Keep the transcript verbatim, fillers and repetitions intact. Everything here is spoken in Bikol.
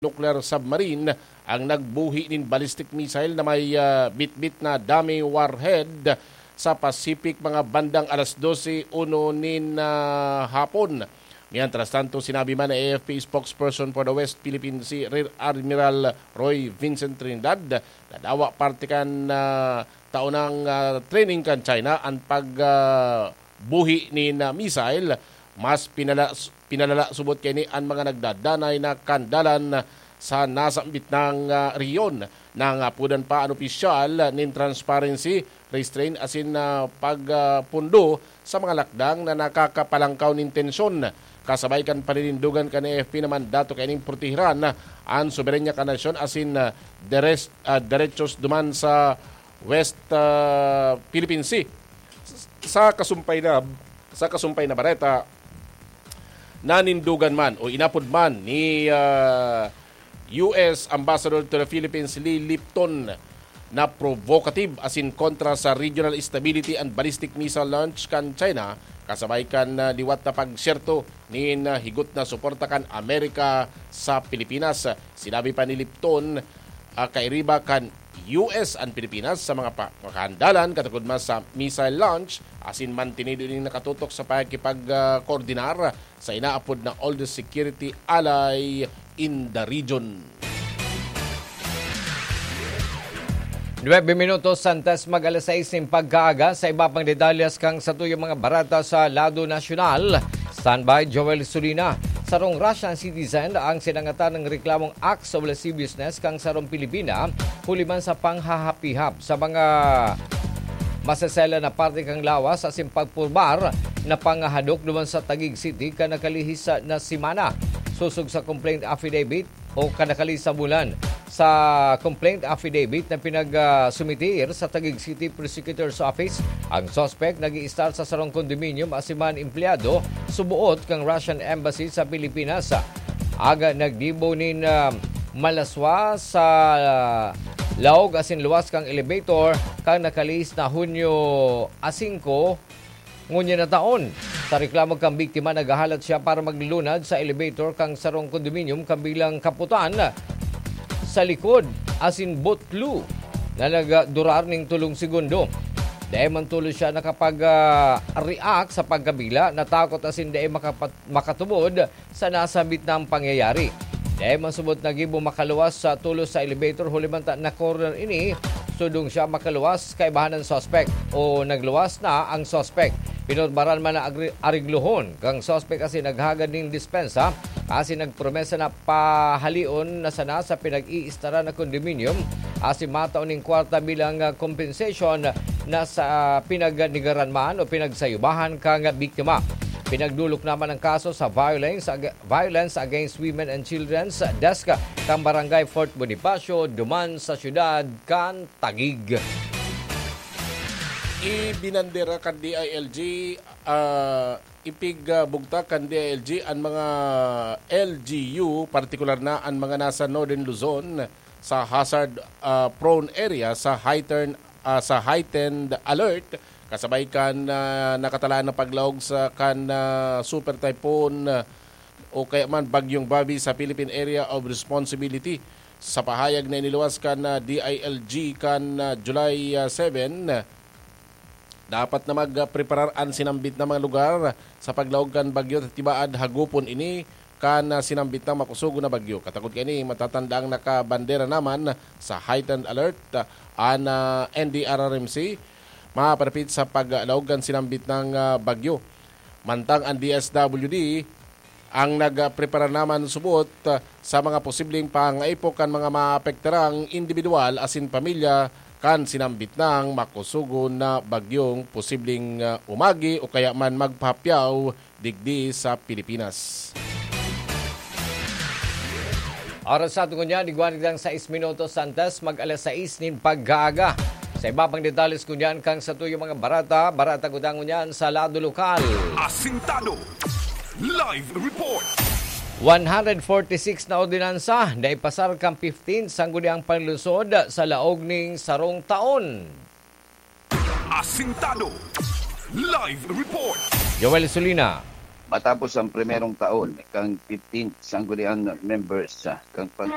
nuclear submarine ang nagbuhi nin ballistic missile na may, ah, bitbit na dummy warhead sa Pacific mga bandang alas dose uno nin, ah, hapon. Mientras tanto, sinabi man ni A F P spokesperson for the West Philippine Sea, Rear Admiral Roy Vincent Trinidad, na dawa parte kan, ah, taonang, ah, training kan China an pag, ah, buhi nin, ah, missile. Mas pinala-, pinalala subot kaini an mga nagdadanay na kandalan sa nasambit nang, ah, rehiyon. Nangapodan pa an opisyal nin transparency, restraint asin, ah, pagpundo sa mga lakdang na nakakapalangkaw nin tensyon. Kasabay kan paninindogan kan A F P na mandato kaining protehiran an soberanya kan nasyon asin, ah, deres-, ah, derechos duman sa West, ah, Philippine Sea. Sa kasumpay na, sa kasumpay na bareta, nanindogan man o inapod man ni, ah, U S Ambassador to the Philippines Lee Lipton na provocative asin kontra sa regional stability and ballistic missile launch kan China, kasabay kan, ah, liwat na pagsyerto nin, ah, higot na suporta kan Amerika sa Pilipinas. Sinabi pa ni Lipton, ah, kairiba kan U S an Pilipinas sa mga pa-, kahandalan katagod man sa missile launch, asin mantinido ning nakatutok sa pakikipag, ah, koordinar sa inaapod na oldest security ally in the region. Nuebe minutos antes mag alas sais nin pagkaaga, sa iba pang detalyes kan satuyang mga bareta sa lado nasyonal. Standby, Joel Sulina. Sarong Russian citizen ang sinangatan nin reklamong acts of lasciviousness kan sarong Pilipina, huli man sa panghahapihap sa mga masesela na parte kan lawas asin pagpurbar na pangahadok duman sa Taguig City kan nakalihis na semana. Sosog sa complaint affidavit, o kan nakalihis na bulan. Sa complaint affidavit na pinag, ah, sumitir sa Taguig City Prosecutor's Office, ang suspect nag-i-stay sa sarong condominium asin man empleyado suboot kan Russian Embassy sa Pilipinas. Aga nagdibo nin, ah, malaswa sa, ah, laog asin luwas kan elevator kan nakalihis na Hunyo a singko, ngunyan na taon. Sa reklamo kan biktima, naghahalat siya para maglunad sa elevator kan sarong condominium kan bilang kaputan sa likod asin butlo na nagdurar nin tolong segundo. Dai man tolos siya nakapag, ah, react sa pagkabila, natakot asin dai makapat-, makatubod sa nasambit na pangyayari. Dai man subot nagibo makaluwas sa tolos sa elevator, huli man ta na-corner ini, sudong siya makaluwas kaibahan ng suspect o nagluwas na ang suspect. Pinurbaran man na agri-, ariglohon kang suspect asin naghagad nin dispensa asin nagpromesa na pahalion na sana sa pinag-iistaran na condominium asin matao nin kwarta bilang, ah, compensation na sa pinagnigaran man o pinagsayubahan kang biktima. Pinagdulok naman ang kaso sa violence ag-, Violence Against Women and Children's Desk kan Barangay Fort Bonifacio, duman sa siyudad kan Taguig. Ibinandera kan D I L G, ah, ipigbugtak kan D I L G an mga L G U, partikular na an mga nasa Northern Luzon, sa hazard, ah, prone area sa heightened, ah, sa heightened alert, kasabay kan, ah, nakatalaan na paglaog sa kan, ah, Super Typhoon, ah, o kaya man Bagyong Bobby sa Philippine Area of Responsibility. Sa pahayag na iniluwas kan, ah, D I L G kan, ah, July, ah, seven, dapat na magpreparar an sinambit na mga lugar sa paglaog kan bagyo ta tibaad hagupon ini kan, ah, sinambit na makusugon na bagyo. Katagod kaini, matatandaang nakabandera naman sa heightened alert, ah, an, ah, N D R R M C, maparapit sa paglaog kan sinambit na, ah, bagyo. Mantang an D S W D ang nagprepara naman subot, ah, sa mga posibleng pangaipok kan mga maapektarang indibidwal asin pamilya kan sinambit nang makusugon na bagyong posibleng, ah, umagi o kaya man magpahapyaw digdi sa Pilipinas. Oras sa aton ngunyan, igwa na kitang sais minutos antes mag alas sais nin pagkaaga. Sa iba pang detalles ngunyan kan satuyang mga bareta, bareta kuta ngunyan sa lado lokal. Asintado. Live report. One hundred forty-six na ordinansa na ipasar kan fifteen sangguniang panlungsod sa laog ning sarong taon. Asintado. Live report. Joel Sulina. Matapos ang primerong taon kan fifteen sangguniang members, ah, kan pag-